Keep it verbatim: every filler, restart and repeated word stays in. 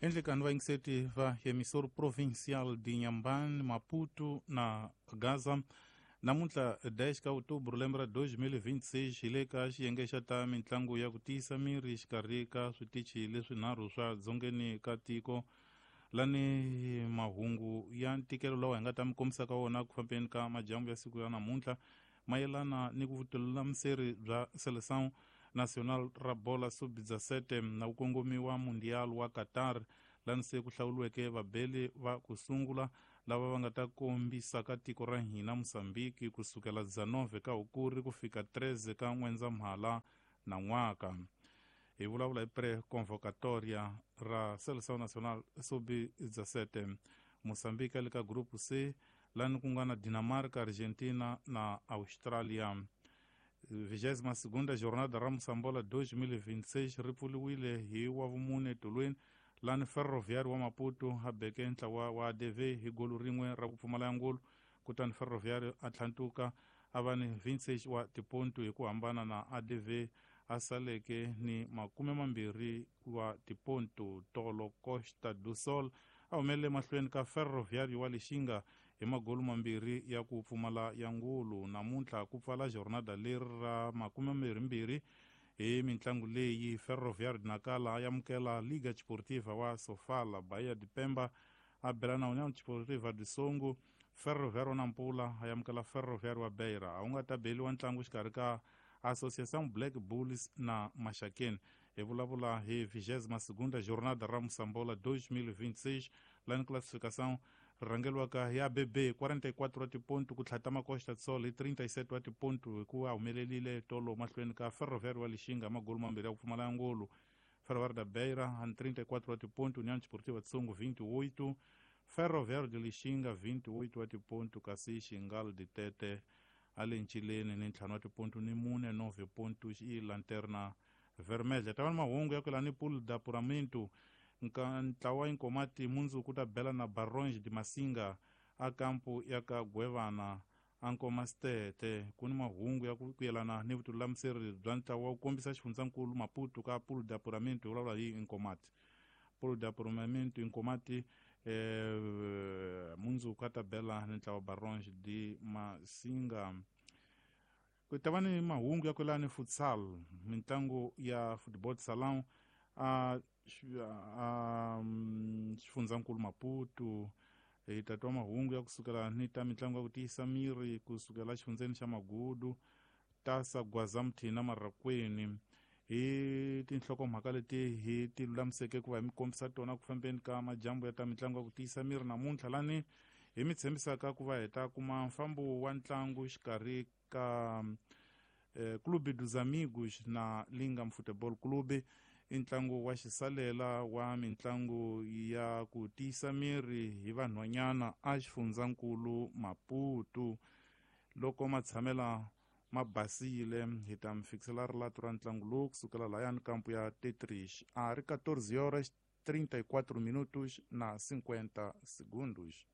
Endlekani vayingiseti va emissora provincial de Inhambane, Maputo na Gaza. Namuntlha dez ka outubro lembe ra dois mil vinte e seis hi le ka xiyenge xa ta mitlangu ya ku tiyisa miri xikarhi ka switichi leswinharhu swa dzongeni ka tiko. Lani mahungu ya ntikelo lawa hi nga ta mi kombisa ka wona ku fambeni ka majambu ya siku ya namuntlha mayelana ni ku vutululamiseri bya Seleção Nacional ra bola sub dezessete na ku kongomiwa Mundial wa Qatar, lani se ku hlawuriweke vabeli va ku sungula lava va nga ta kombisa ka tiko ra hina Mozambique kusukela dezenove ka Hukuri ku fika treze ka N'wendzamhala na n'waka. Hi vulavula hi pré-convocatoria ra Seleção Nacional sub dezessete. Mozambique le ka grupo C, lani ku nga na Dinamarca, Argentina na Australia. Vigésima segunda jornada ra Moçambola dois mil vinte e seis ri pfuriwile hi wavumune tolweni, lani Ferroviário wa Maputo a beke ntlawa wa A D V hi golo rin'we ra ku pfumala ya ngolo, kutani Ferroviário a tlhantuka a va ni vinte e seis wa tipontu hi ku hambana na A D V a saleke ni makume mambirhi wa tipontu. Tolo Costa do Sol a humelele mahlweni ka Ferroviário wa Lixinga hi magolo mambirhi ya ku pfumala ya ngulu. Namuntlha ku pfala jornada leri ra makume mambirhimbirhi hi mitlangu leyi Ferroviário de Nacala a amukela Liga Desportiva wa Sofala, Bahia de Pemba a bela na União Desportiva de Songo, Ferroviário wa Nampula a amukela Ferroviário wa Beira. A wu nga ta beliwa ntlangu xikarhi ka Associação Black Bulls na Maxakeni. Hi vulavula hi vigésima segunda jornada ra Moçambola dois mil vinte e seis, lani classificação rhangeriwaka hi A B B quarenta e quatro wa tipontu ku tlhatama Costa do Sol hi trinta e sete wa tipontu hi ku a humelelile tolo mahlweni ka Ferroviário wa Lixinga magolo mambirhi ya ku pfumala ya ngolo. Ferroviário da Beira a trinta e quatro wa tipontu, União Desportiva de Songo vinte e oito, Ferroviário de Lixinga vinte e oito wa tipontu, kasi Xingal de Tete a le ncileni ni ntlhanu wa tipontu ni mune nove pontos i Lanterna Vermelha. Ta va ni mahungu ya ku yelana ni pool da apuramento. Ntlawa Inkomati mundzuku ta bela na Barões de Massinga a kampu ya ka Gwevana a Nkomastete. Ku ni mahungu ya ku yelana ni vutululamiseri bya ntlawa wu kombisa xifundzankulu Maputo ka pool de apuramento, hi vulavula hi Inkomati. Pool de apuramento Inkomati eh, mundzuku a ta bela ni ntlawa Barões de Massinga. Ku ta va ni mahungu ya ku yelana ni futsal, mitlangu ya football salão a a xifundzankulu Maputo. Hi ta twa mahungu ya kusukela ni ta mitlangu ya ku tiyisa miri kusukela xifundzeni xa Magudu, Tasa Gwazamthina Marakweni. Hi tinhlokomhaka leti hi ti lulamiseke ku va hi mi kombisa tona ku fambeni ka majambu ya ta mitlangu ya ku tiyisa miri namuntlha, lani hi mi tshembisaka ku va hi ta kuma mfambo wa ntlangu xikarhi ka eh, Clube dos Amigos na Lingam Futebol Clube. I ntlangu wa xisalela wa mitlangu ya ku tiyisa miri hi vanhwanyana a xifundzankulu Maputo. Loko matshamela ma basile hi ta mi fikisela rilato ra ntlangu lowu kusukela lahayani kampu ya Tetrish a ri quatorze horas trinta e quatro minutos na cinquenta segundos.